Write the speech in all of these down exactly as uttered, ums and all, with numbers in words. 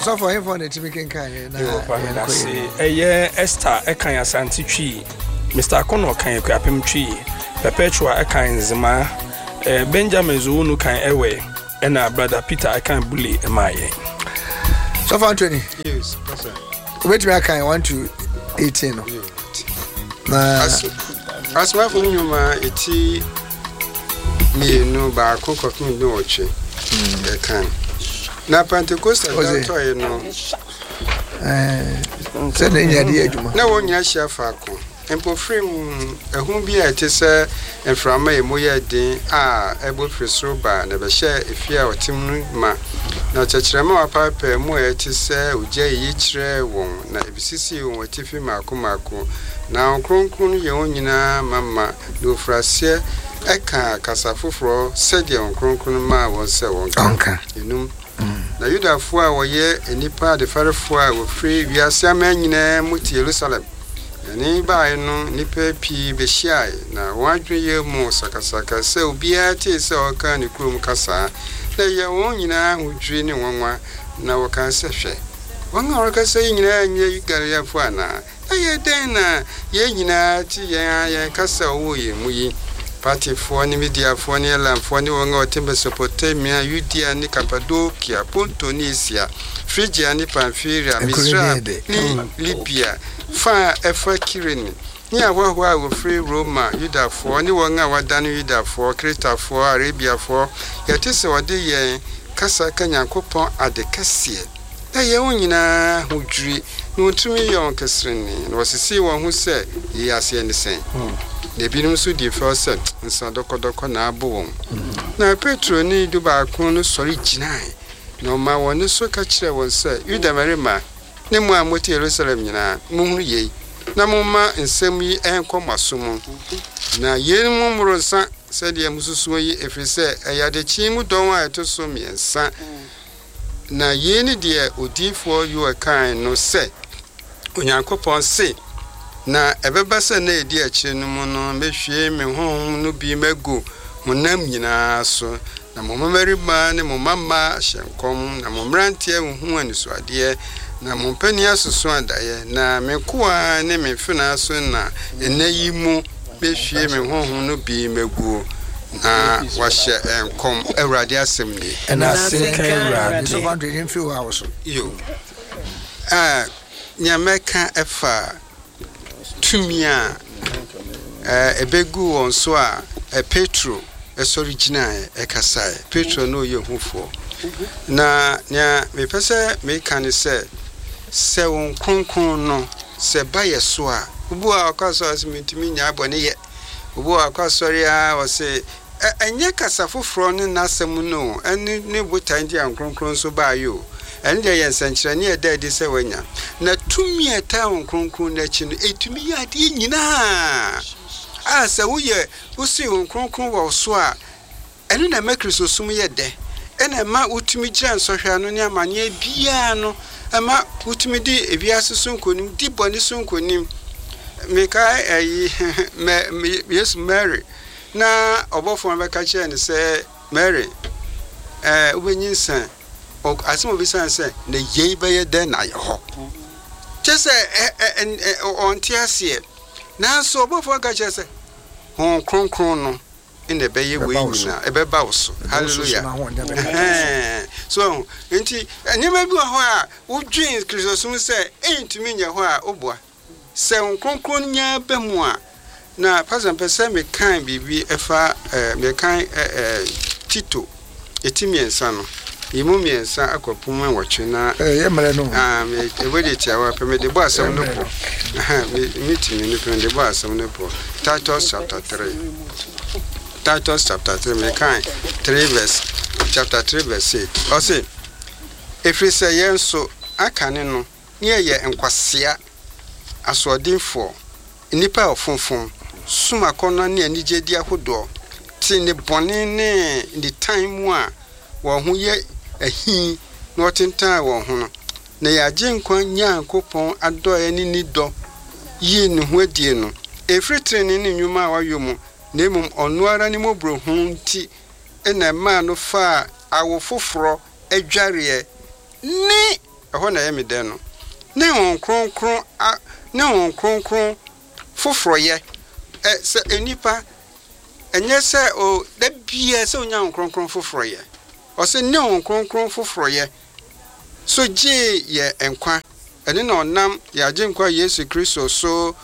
Sɔfo, ahemfo na ɛtumi kenkan yɛ na Yo, pa yɛnkɔ medase. yɛ. Ɛyɛ Esther ɛkan Asante Twi, Mister Akono kan Akuapem Twi, Perpetua ɛkan Nzema, eh, Benjamin Zowunu kan Ɛwɛ, ɛna Brother Peter ɛkan Bule ɛmaa yɛn. Sɔfo Anthony. Yes, Pastor. Wobɛtumi akan one to eighteen no na As- Asomafo no nnwuma eti mmienu baako kɔpem du nwɔtwe yɛkan. Na Pentecost da Ɔse. tɔe no, eh, sɛ na ɛnya de yɛ adwuma. Na wɔn nyinaa hyia faako. Mpofirim, ahum bi a ɛte sɛ mframa a emu yɛ den a ɛbɔ firi soro ba na ɛbɛhyɛɛ efie a ɔte mu no ma. Na tɛkyerɛma a wɔapaepae mu a ɛte sɛ ogya yiyi kyerɛɛ wɔn, na ebisisii wɔn atifi mmaako mmaako. Na Honhom Kronkron no yɛ wɔn nyinaa ma ma, na wɔfiri aseɛ ɛka kasa foforɔ sɛdeɛ Honhom Kronkron no maa wɔn sɛ wɔnka. Ɔnka. Enum. Na Yudafoɔ a wɔyɛ nnipa adefarefoɔ a wɔfiri wiase aman nyinaa mu te Yerusalem. Na ne baeɛ no, nnipa pii behyiae, na wɔn adwene yɛ mu sakasaka sɛ obiara tee sɛ ɔreka ne kurom kasa. Na ɛyɛ wɔn nyinaa ahodwiri ne nwanwa, na wɔkaa sɛ, "Hwɛ, wɔn a wɔrekasa yi nyinaa nyɛ Galileafoɔ anaa? Ɛyɛ dɛn na yɛn nyinaa te yɛn a yɛn kasa a ɔwɔ yɛn mu yi? Partifoɔ ne Mediafoɔ ne Elamfoɔ ne wɔn a wɔte Mesopotamia, Yudea ne Kapadokia, Ponto ne Asia, Frigia ne Pamfilia, Nkuro Misraim ne de. Ne Libia, fa a ɛfa Kirene, ne ahɔhoɔ a wɔfiri Roma, Yudafoɔ ne wɔn a wɔadane Yudafoɔ, Kretafoɔ, Arabiafoɔ, yɛte sɛ wɔde yɛn kasa ka Nyankopɔn ade kɛseɛ." Na yɛn wɔn nyinaa ho dwiri, na wɔntumi yɛ wɔn keserene, na wɔsesee wɔn ho sɛ, "Yei aseɛ ne sɛn?" Na ebinom nso di fɛw sɛ, "Nsa dɔkɔdɔkɔ na abɔ wɔn." Na Petro ne du baako no sɔre gyinae, na ɔma wɔn ne so ka kyerɛɛ wɔn sɛ, "Yuda mmarima ne mo a mote Yerusalem nyinaa, monhunu yei, na momma nsɛm yi ɛnkɔ mo aso mu. Na yeinom mmoro nsa sɛdeɛ mususuo yi, ɛfiri sɛ ɛyɛ adekyee mu dɔn a ɛto so mmiɛnsa. Na yei ne deɛ odiyifoɔ Yoel kae no sɛ, Onyankopɔn se, na ɛbɛba sɛ na ɛdi akyire no mu no, mɛhwie me honhom no bi magu honam nyinaa so, na mo mmarima ne mo mmammaa ahyɛ nkɔm, na mo mmeranteɛ huhu anisoadeɛ, na mo mpanin asoso adaeɛ, na me nkoa ne me mfenaa so na ɛnɛ yi mu mɛhwie me honhom no bi maguo, na wahyɛ nkɔm." Awurade asɛm nie. Ɛna Ase nka Awurade. Sɔfo Anthony, yɛmfiri hɔ a wo so. Yo, ah, nea mɛka ɛfa tumi a eh, ɛbɛgu wɔn so a eh, Petro ɛsɔre gyinaeɛ ɛkasaeɛ. Petro no ɔyɛ hufoɔ. Na nea mepɛ sɛ meka ne sɛ sɛ wɔn kronkron no sɛ ba yɛ so a, obi a ɔkɔ asɔre sɛ mentumi nyaa bɔne yɛ, obi a ɔkɔ asɔre a ɔse ɛ- ɛnyɛ kasa foforɔ ne n'asɛm no o, ɛne ne botae nti a Kronkron nso baayɛ o. Ɛno deɛ yɛ nsɛnkyerɛnne a ɛda adi sɛ wanya na tumi a ɛtaa wɔn kronkron no akyi no, ɛtumi yɛ adeɛ nyinaa a sɛ woyɛ wosi wɔn kronkron wɔ wo so a, ɛno na ɛma Kristosom yɛ dɛ, ɛna ɛma wotumi gyina nsɔhwɛ ano ne amanneɛ biara no, ɛma wotumi di ewiase so nkonim, di bɔne so nkonim. Mekae ɛyi mɛ mɛ Yesu, Mary, na ɔbɔfoɔ no bɛka kyerɛ no sɛ, "Mary, ɛɛ wobɛnyinsɛn." Ɔ- asɛm a obisa no sɛ, "Na yei bɛyɛ dɛn na ayɛ hɔ?" Kyɛ sɛ ɛ ɛ ɛ ɔnte aseɛ. Nanso ɔbɔfoɔ no ka kyerɛ sɛ Honhom Kronkron no ɛna ɛbɛyɛ wei Ɛbɛba wo so. nyinaa, ɛbɛba wo so. Hallelujah. Ɛhɛn. So nti nneɛma bi wɔ hɔ a wodwen Kristosom sɛ ɛntumi nyɛ hɔ a, woboa sɛ Honhom Kronkron nyaa bɛ mu a. Na Pastor, mpɛ sɛ mekan biribi ɛfa ɛɛ mekan ɛɛ ɛɛ Tito eti mmiɛnsa no, yi mu mmiɛnsa akɔpem nwɔtwe na ɛyɛ mmerɛ no. Ah, me ewe de tiawa pɛ mede bɔ asɛm no pɔ. Ɛhɛn, me me mmienu pɛ mede bɔ asɛm no pɔ. Titus chapter three, Titus chapter three, mekan three verse, chapter three verse eight. Ɔse, "Ɛfiri sɛ yɛn nso aka ne no ne yɛyɛ nkwasea, asoɔdenfoɔ, nnipa a ɔfomfom, som akɔnnɔ ne anigyedi ahodoɔ, te ne bɔne ne nitan mu a wɔn ho yɛ ahi na wɔtentan wɔn ho no, na yɛagye nkwa Nyankopɔn adɔeɛ ne ne dɔ yii ne ho adie no, ɛfiri tenenee ne nnwuma a wayɔ mu, na mmom ɔno ara ne mmɔborɔhunu nti ɛna ɛmaa no faa awo foforɔ adwareɛ ne Ɛhɔ na ɛyɛ me dɛ no. Ne Honhom Kronkron a, ne Honhom Kronkron foforɔyɛ. Ɛ, sɛ nnipa, ɛnyɛ sɛ o, da biara sɛ onya Honhom Kronkron foforɔyɛ. Ɔse ne Honhom Kronkron foforɔyɛ so gyee yɛ nkwa. Ɛno na ɔnam yɛn Agyenkwa Yesu Kristo so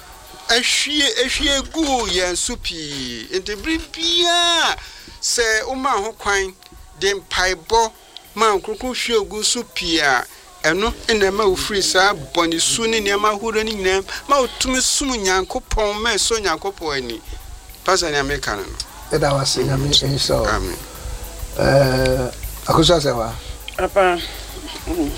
ahwie ahwie guu yɛn so pii. Enti bere biara sɛ woma ho kwan de mpaebɔ ma Honhom Kronkron hwie gu so pii a, ɛno na ɛma wofiri saa bɔne su ne nneɛma ahorow no nyinaa ma wotumi som Nyankopɔn ma ɛsɔ Nyankopɔn ani. Pastor, nea meka no no. Yɛda wo ase, Nyame nhyira wo. Amen. Eh, Akosua sɛ wa. Papa, mm,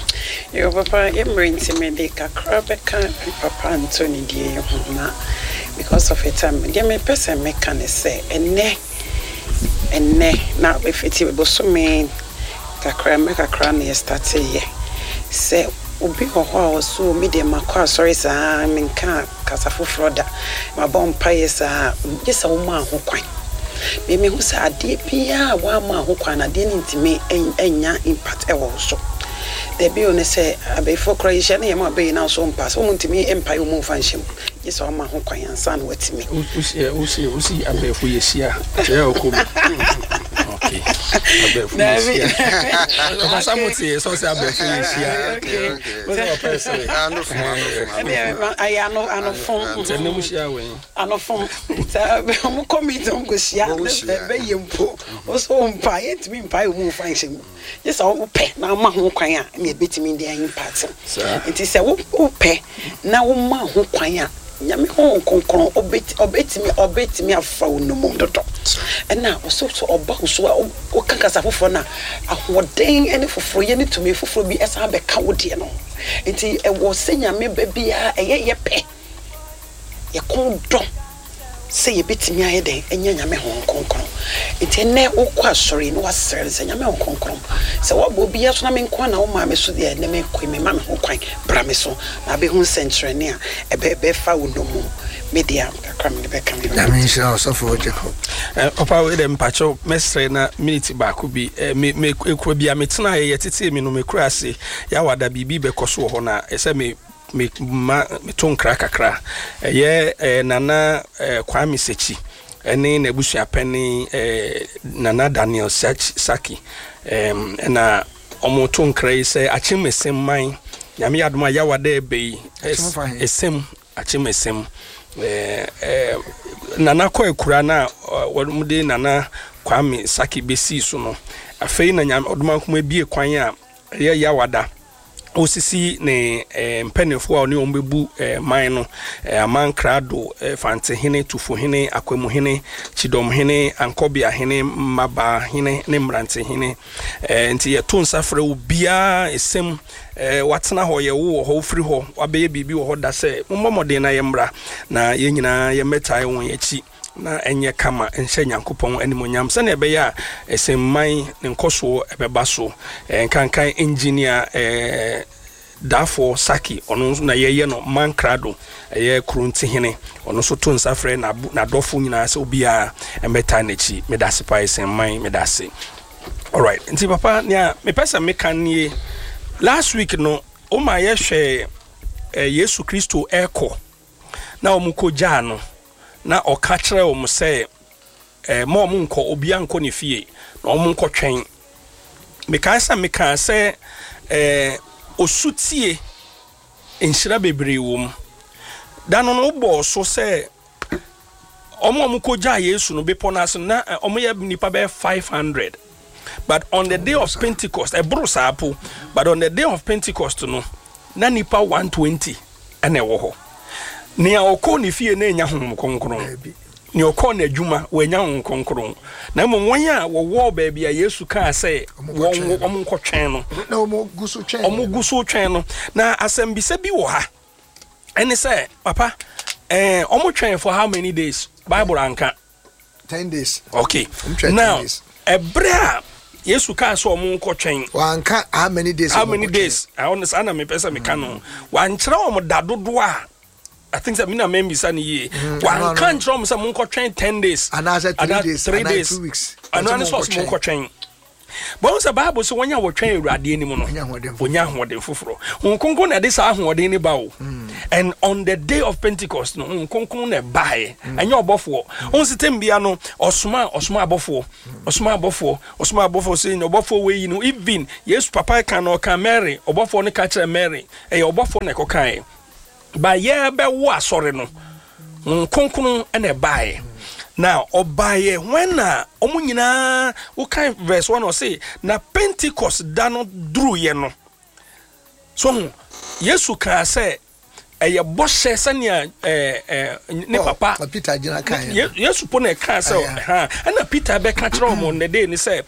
yo papa, yɛ mmerɛ nti mede kakra bɛka Papa Anthony deɛ yi ho na because of the time, deɛ mepɛ sɛ meka ne sɛ ɛnɛ ɛnɛ na ɛfiti bosome kakra mmerɛ kakra na yɛstarteeɛ sɛ obi wɔ hɔ a ɔso mi deɛ, makɔ asɔre saa, menka kasa foforɔ da, mabɔ mpaeɛ saa, gye sɛ woma ho kwan. Memehu sɛ adeɛ biara a woama ho kwan no, adeɛ no ntumi ɛnya impact ɛwɔ wo so. Dabi o, ne sɛ abɛyifoɔ koraa yɛhyia ne yɛma abɛyi no so mpa sɛ wɔn ntumi mpaeɛ wɔn mfa nhyɛ mu, gye sɛ wama ho kwan ansa na watumi. Wosi wosi wosi abɛɛfo yɛhyia kyerɛ ɔkɔ mu. Okay, abɛɛfo yɛhyia ɔkasa mo te sɛ ɔsɛ abɛɛfo yɛhyia. Okay, okay. Mo sɛ ɔpɛ sɛ Anofo, anofo. Ɛne ayɛ ano anofom. Sɛ ne mo hyia wɔ yi. Anofom sɛ ɔmo kɔ meeting, ɔmo kɔ hyia. Ɔmo hyia. Bɛyɛ mpo ɔsɔ mpa yɛntumi mpa yɛ ɔmo mfa nhyɛ mu, gye sɛ wopɛ na ama ho kwan a ɛna ebɛtumi de ayi impact. Saa. Nti sɛ wo wopɛ na woma ho kwan a, Nyame Honhom Kronkron ɔbɛti ɔbɛtumi ɔbɛtumi afa wo nomum dodo. Ɛna ɔsɛ sɛ ɔba wo so a, wo- woka kasa foforɔ no a, ahoɔden ne foforɔ yɛ ne tumi foforɔ bi ɛsan bɛka wo deɛ no. Nti ɛwɔ sɛ Nyame ba biara ɛyɛ yɛ pɛ, yɛkɔn dɔ sɛ yɛbɛtumi ayɛ dɛn ɛnyɛ Nyame Honhom Kronkron. Nti ɛnɛ wokɔ asɔre na wasrɛ no sɛ, Nyame Honhom Kronkron, sɛ woabɔ obiara so na me nko a na womaa me so deɛ, ɛnɛ mekɔ, mema me ho kwan, bra me so na abɛhu nsɛnkyerɛnne a ɛbɛ ɛbɛfa wo nomum. Me deɛ kakra mede bɛka me ho. Nyame nhyira wo, Sɔfo Jacob. Eh, papa, wei dɛ mpakyɛw, mɛsrɛ na minute baako bi. eh, me me ekuro bi a metena yɛ yɛtete mi no, mekura ase yɛawada biribi bɛkɔ so wɔ hɔ na ɛsɛ me me ma meto nkra kakra. Ɛyɛ eh, Nana eh, Kwame Sekyi ɛne n'abusuapɛni eh, Nana Daniel Saki Saki ɛm, ɛna ɔmo to nkra yi sɛ Akyem Esem man, Nyame yɛ adom a, yɛawada ɛbɛ yi. Akyem fa he? Esem, Akyem Esem. ɛɛ ɛɛ nana kɔ akura na wɔn de Nana Kwame Saki bɛsii so no, afei na Nyame ɔdomankoma ebie kwan a ɛyɛ yawada osisi ne ɛɛ mpanimfoɔ a ɔne wɔn bɛbu ɛɛ man no, ɛɛ amankrado, ɛɛ Fantehene, Tufuhene, Akwamuhene, Kyidɔmhene, Ankɔbeahene, Mmabaahene ne Mmerantehene. ɛɛ nti yɛto nsa frɛ obiara esɛm ɛɛ watena hɔ, yɛwo wɔ hɔ, wofiri hɔ, wabɛyɛ biribi wɔ hɔ da sɛ mommɔ mmɔden na yɛmmra na yɛn nyinaa yɛmmɛtae wɔn akyi na ɛnyɛ kama nhyɛ Nyankopɔn animonyam sɛnea ɛbɛyɛ a ɛsɛmman ne nkɔsoɔ ɛbɛba so. ɛɛ nkankan Engineer ɛɛ Daafoɔ Saki, ɔno nso na yɛyɛ no mankrado, ɛyɛ kurontihene. Ɔno nso to nsa frɛ n'adɔfo nyinaa sɛ obiara mmɛtaa n'akyi. Meda ase paa, ɛsɛmman, meda ase. Alright, nti papa, nea mepɛ sɛ meka nie, last week no woma yɛhwɛ eh, Yesu Kristo ɛkɔ na wɔn kɔ gyaa no na ɔka kyerɛ wɔn sɛ eh, ma wɔn nkɔ, obiara nkɔ ne fie na wɔn nkɔ twɛn. Mekae sɛ mekaa sɛ eh, osutie nhyira bebree wɔ mu. Da no no wobɔɔ so sɛ ɔmo a ɔmo kɔ gyaa Yesu no bepɔ no ase no, na eh, ɔmo yɛ nipa bɛyɛ five hundred, but on the day of Pentecost ɛboro saa po. But on the day of Pentecost no, na nipa one twenty ɛna ɛwɔ hɔ. Nea ɔkɔɔ ne fie na enya Honhom Kronkron, Baabi. Nea ɔkɔɔ n'adwuma wɔanya Honhom Kronkron, na mmom wɔn a wɔwɔ baabi a Yesu kaa sɛ ɔmo wɔn nkɔtwɛn no. Wɔn nkɔtwɛn no. Na ɔmo gu so twɛn. Ɔmo gu so twɛn no. Na asɛmbisa bi wɔ ha, ɛne sɛ papa, ɛɛ ɔmo twɛn for how many days? Bible anka. Ten days. Okay. Ɔmo twɛn ten Now days. ɛbrɛ a Yesu kaa sɛ ɔmo nkɔtwɛn, Wanka how many days. How ɔmo many nkɔtwɛn. days? Ɛwɔ saa na mepɛ sɛ meka no. Wankyerɛ wɔn da dodoɔ a, I think sɛ mi na mɛmbisa no yie. Wanka ano, ano. nkyerɛ wɔn sɛ monkɔtwɛn ten days Anaasɛ three anaa days, three anaa days. two weeks. Ɛno Ɔsɛ ano sɛ ɔsɛ monkɔtwɛn. monkɔtwɛn. Bɔn sɛ Bible sɛ wɔnya wɔtwɛn Awurade anim no, wɔnya ahoɔden foforɔ. Honhom Kronkron na ɛde saa ahoɔden ne ba o. And on the day of Pentecost no, Honhom Kronkron na ɛbaeɛ. Ɛnyɛ ɔbɔfoɔ. Wɔn sɛ tɛm bia no, ɔsoma ɔsoma abɔfoɔ, ɔsoma abɔfoɔ, ɔsoma abɔfoɔ sɛ ɔbɔfoɔ wei yi no, even Yesu papa ka no, ɔka Mary, ɔbɔfoɔ no ka kyerɛ Mary, ɛyɛ ɔbɔfoɔ na ɛkɔkaeɛ. Ba yɛbɛwo asɔre no, Honhom Kronkron na ɛbaeɛ. Na ɔbaeɛ when na ɔmo nyinaa wokan verse one, ɔse na Pentecost da no duruyɛ no so ho, Yesu kaa sɛ ɛyɛ bɔhyɛ sɛnea ɛɛ ɛɛ ne papa Peter gyina kan. Yesu po na ɛkaa sɛ ha, ɛna Peter bɛka kyerɛ ɔmo ne de ne sɛ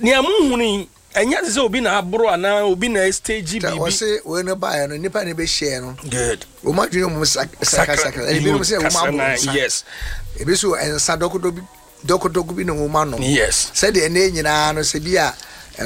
nea mo hunu yi, ɛnyɛ sɛ obi na aboro anaa obi na stage biribi. Wɔse wei no baeɛ no, nipa ne bɛhyia no. Good. Wɔn adwene mu sakasaka, ebinom sɛ wɔn aboro nsa. Yes. Ebi so nsa dɔkodo bi dɔkodo bi na wɔn anom. Yes. Sɛdeɛ ne nyinaa no, sɛ bi a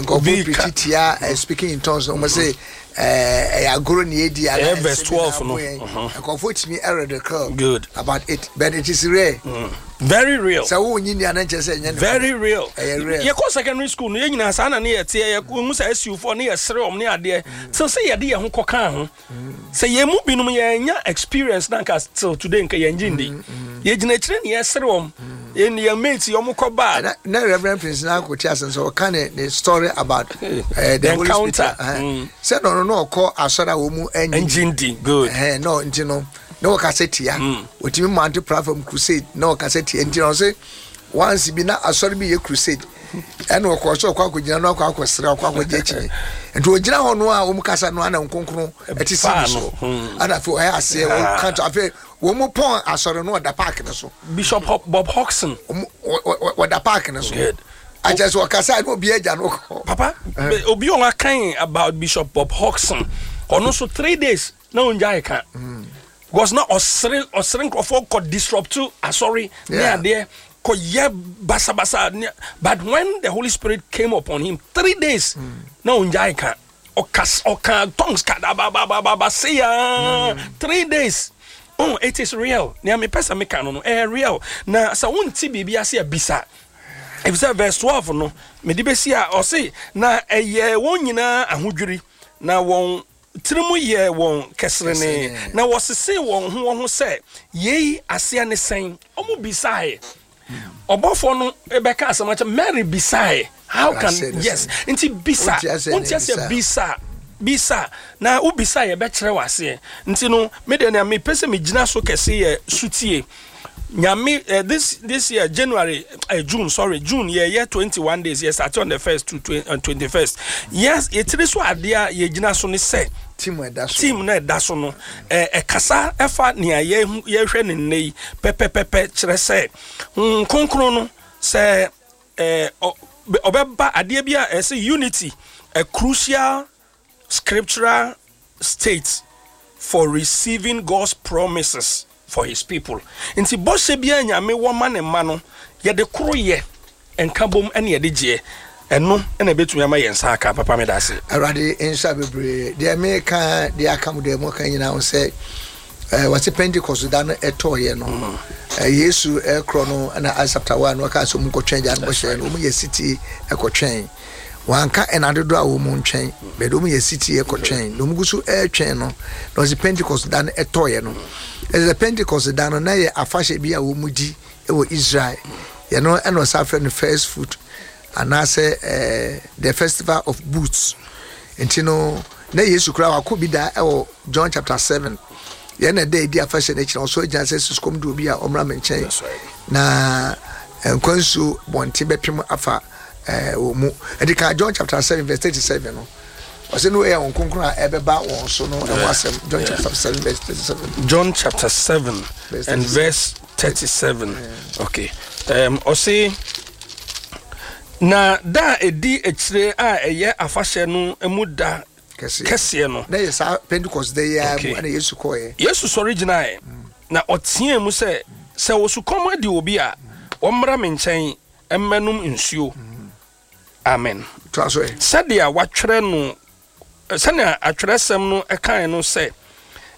nkɔfo pirikyi tia speaking in tongues no, wɔn sɛ ɛyɛ agorɔ ne edi ana. Verse twelve no. Nkɔfo tumi ridicule. Good. About it, but it is rare. Mm. Very real. Sɛ wo nyi ni anan kyerɛ sɛ ɛnyɛ ne. Very real. Ɛyɛ real. Yɛkɔ secondary school no, yɛn nyinaa saa na ne yɛ teɛ, yɛ mu sɛ S U foɔ ne yɛ sere ɔm ne adeɛ till sɛ yɛde yɛn ho kɔkaa ho sɛ yɛn mu binom yɛn nya experience na nka till today nka yɛn gye ndi. Yɛgyina akyire ne yɛsere ɔm, yɛn yɛn mates yɛn ɔmo kɔ baa. Na na Reverend Prince na akɔ ti asɛm sɛ ɔka ne ne story about uh, the Holy Spirit. Sɛ no no na ɔkɔ asɔre a wɔn mu ɛngye ndi. Good. Ɛhɛn no nti no na wɔkasa tia. Wɔtumi mante platform crusade na wɔkasa tia, nti na ɔsɛ once bi na asɔre bi yɛ crusade, ɛna ɔkɔ so ɔkɔ akɔgyina no, akɔ akɔsrɛ, ɔkɔ akɔgye akyi, nti ɔgyina hɔ no a wɔn kasa no ana nkonkron ɛte si bi so, ɛna afei ɔyɛ aseɛ wɔka to, afei wɔn mu pɔn asɔre no, ɔda park no so. Bishop Bob Hodgson. Ɔda park no so akyɛ sɛ ɔkasa na obi agya no kɔ. Papa, obi a ɔkan about Bishop Bob Hodgson, ɔno nso three days na ɔngya ɛka because na ɔsere ɔsere nkurɔfoɔ kɔ disrupt asɔre ne adeɛ kɔ yɛ basabasa, but when the Holy Spirit came upon him, three days mm. na ɔngya ɛka, ɔka ɔka tongues kadababababa say ya three days. Oh, it is real. Nea mepɛ sɛ meka no no ɛyɛ real, na sɛ wonte biribi ase a, bisa, efisɛ verse twelve no mede bɛsi a, ɔse na ɛyɛ wɔn nyinaa ahodwiri, na wɔn tirim yɛ wɔn kɛserene, na wɔsese wɔn ho wɔn ho sɛ, yei aseɛ ne sɛn? Ɔmo bisaeɛ, ɔbɔfoɔ no bɛka asɛm akyɛ Mary, bisaeɛ, how can, yes, nti bisa, wonti aseɛ, bisa, bisa, na wobisa yɛbɛkyerɛ wɔ aseɛ. Nti no medeɛ nea mepɛ sɛ megyina so kɛse yɛ sutie Nyame. uh, this this year January, uh, June, sorry, June, yɛyɛ twenty-one days, yɛ start on the first to twenty-first. Yes, yɛtiri so adeɛ a yɛgyina so ne sɛ team ɛda so. Team na ɛda so no, ɛkasa ɛfa nea yɛhwɛ ne nnɛ yi pɛpɛpɛpɛ, kyerɛ sɛ Honhom Kronkron no sɛ ɛɛ ɔbɛba adeɛ bi a ɛsɛ unity, a crucial scriptural state for receiving God's promises for his people. Nti bɔhyɛ biara Nyame wɔ ma ne mma no, yɛde koro yɛ nka bom ɛne yɛde gyeɛ, ɛno ɛna ɛbɛtumi ama yɛn nsa aka. Papa, meda ase. Awurade nhyɛ bebree. Deɛ meka deɛ aka mu deɛ moka nyinaa ho sɛ wɔse Pentecost da no ɛtɔɔyɛ no, Yesu ɛkorɔ no ɛna Acts chapter one no ɔka sɛ ɔmu nkɔtwɛn agya no bɔhyɛ no. Ɔmu yɛ sitie ɛkɔtwɛn, wanka ɛna dodoɔ a wɔn ntwɛn bɛde, wɔn yɛ sitie ɛkɔtwɛn, na wɔn gu so ɛretwɛn no na ɔsi Pentecost da no ɛtɔɔyɛ no. Ɛsɛ Pentecost da no na yɛ afahyɛ bi a wɔn di ɛwɔ Israel yɛn no, ɛna ɔsa afrɛ no first fruit anaasɛ ɛɛ the festival of booths. Nti no na Yesu koraa wakɔ bi da ɛwɔ John chapter seven yɛn na ɛda edi afahyɛ no akyi na ɔsɔ gyina sɛ sukɔm de obi a ɔmmra me nkyɛn na nkwa nsuo bɔnten bɛpem afa ɛɛ wɔ mu. Ɛdi kan John chapter seven verse thirty seven no, ɔsɛ no yɛ wɔn kronkron a ɛbɛba wɔn so no ɛho asɛm. John chapter seven verse thirty seven. John chapter seven and verse thirty-seven. Okay, um, ɔse na da a ɛdi akyire a ɛyɛ afahyɛ no mu da kɛseɛ no. Na yɛ saa Pentecost da yi ara mu ɛna Yesu kɔɛ. Yesu sɔre gyinaeɛ na ɔteɛ mu sɛ, sɛ osukɔm adi obi a, wɔmmra me nkyɛn mmɛnom nsuo. Amen. Sɛdeɛ watwerɛ no, sɛnea atwerɛsɛm no kae no sɛ,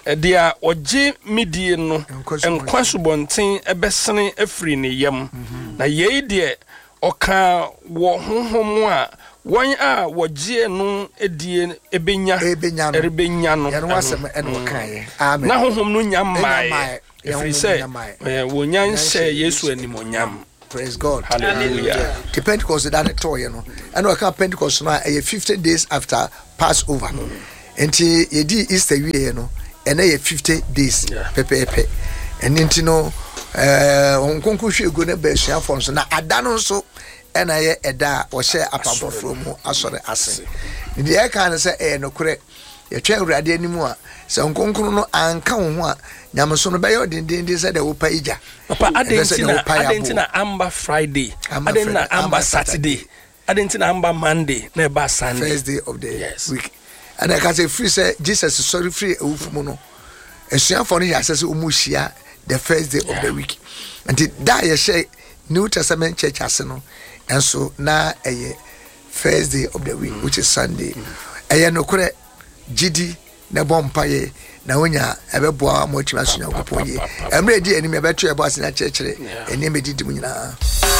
deɛ ɔgye me die no, nkwa subɔnten bɛsene afiri ne yam. Na yei deɛ Ɔka wɔ honhom a wɔn a wɔgyeɛ no die ebenya Ebenya no. Ɛrebenya no. Yɛn ho asɛm ɛna ɔkaeɛ. Amen. Na honhom no nya mmaeɛ. mmaeɛ, ɛfiri Honhom sɛ nya mmaeɛ. eh, wɔnya nhyɛ Yesu animonyam. Praise God. Hallelujah. Nti Pentecost da ne tɔɔyɛ no, ɛna ɔka Pentecost no a ɛyɛ fifty days after Passover. Nti yɛdi Easter wieɛ no, ɛnɛ yɛ fifty days Yeah. pɛpɛɛpɛ. Ɛno nti no, ɛɛ Honhom Kronkron hwie gu ne ba asuafoɔ nso, na ada no nso ɛna yɛ ɛda a wɔhyɛ apam foforɔ mu asɔre ase. Deɛ ɛka no sɛ ɛyɛ nokorɛ, yɛtwɛn Awurade anim a, sɛ Nkronkron no anka wo ho a, nyameso no bɛyɛ ɔdendenden sɛ deɛ wopa yi gya. Papa, adɛn Ɛfɛ sɛ nti deɛ na wopa yɛ adɛn nti aboɔ. na amba Friday? Amba Adɛn na Friday, amba amba Saturday? Adɛn nti na amba Monday na ɛba Sunday? First day of the Yes. week. Ɛna ɛka sɛ firi sɛ Jesus sɔre firi awufo mu no, asuafoɔ no yɛ asɛ sɛ ɔmu hyia the first day of the week. Nti da a yɛhyɛ New Testament church ase no ɛnso na ɛyɛ first day of the week, which is Sunday. Ɛyɛ nokorɛ, gyidi na ɛbɔ mpayɛ na wonya ɛbɛboa ma watumi aso Nyankopɔn yie. Ɛmmerɛ ɛdi anim, yɛbɛto yɛbɔ ase na kyerɛkyerɛ Yeah. ɛnneɛma ɛdidi mu nyinaa.